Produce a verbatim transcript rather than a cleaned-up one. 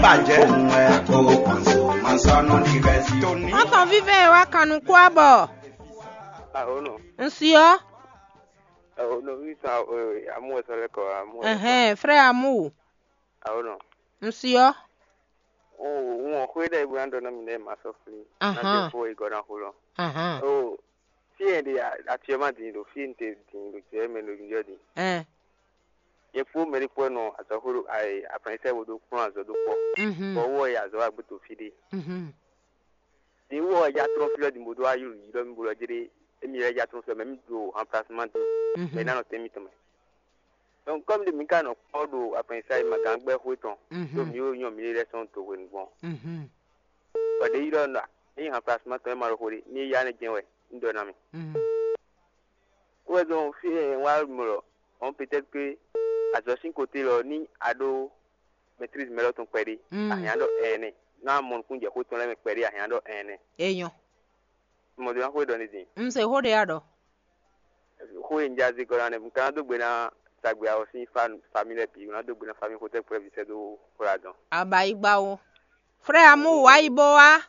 Bàjẹ́ òun ẹ̀ kó kàn so, máa sọ ọ́nà di rẹ̀ sí. Tòní. Wọ́n tàn vívẹ́ ẹ̀ wá kànú kú àbọ̀. Àhónú. Ǹsíọ́. Àhónú mi sàn àmú ẹ̀sọ́ lẹ́kọ̀ọ́ àmú ẹ̀sọ́. Ẹ̀hẹ́n, frère Amu. Àhónú. Ǹsíọ́. Wọn ò xwé dɛ bó ná dɔ nɔ mi dɛ ma sɔ fli. Ahan. Na te fo igɔ na xo lɔ. Ahan. O fi yɛ de atiɛ ma din do fi n te din do tiɛ mɛ do njɔ din. Ɛn. Yɛ fo mɛ de kpɔ nɔ azɔ xo do ayi afɛn sɛ wo do kplɔn azɔ do kpɔ. Mhm. Bɔ wɔ yɛ azɔ wa gbé to fi de. Mhm. Din wɔ ya trɔn fi lɔ din bo do ayi yi lɔ mi bo lɔ jɛ de emi yɛ ya trɔn fi lɔ mɛ mi do remplacement do. Mhm. Mɛ na nɔ tɛ mi tɔmɛ. Donc comme de mi ka nɔ kpɔ do afɛn sa ma gan gbɛ xwe tɔn. Mhm. Do mi wo nyɔ mi lɛ sɔn to hwe gbɔn. Mhm. Bɔ ɖe yi lɔ nɔ ní han plasma tɔn ma ɖo xo ɖe ní ya ne jɛn wɛ ní ɖɔ ná mi. Wɛ dɔn fi e wá mɔ lɔ, on peut-être que azɔ sín côté lɔ ní a ɖó maîtrise mɛ lɔ tɔn kpɛɖé. Ahiã ɖɔ ɛnɛ ná mɔ nukún jɛ xó tɔn lɛ mɛ kpɛɖé ahiã ɖɔ ɛnɛ. Enyɔ. Mɔ do ná xó ɖɔ ní din. Un se xó ɖe ya ɖɔ. Xó e un ja zé gɔ́ ná nɛ un ka ná dó gbe ná tagbe awɔ sín famille lɛ́ɛ bǐ un ná dó gbe ná famille xotɛ́ kplɔ́ vǐ sɛ́ dó xwlá dɔn. Abayigba o. Frère Amu wá yi bó wá.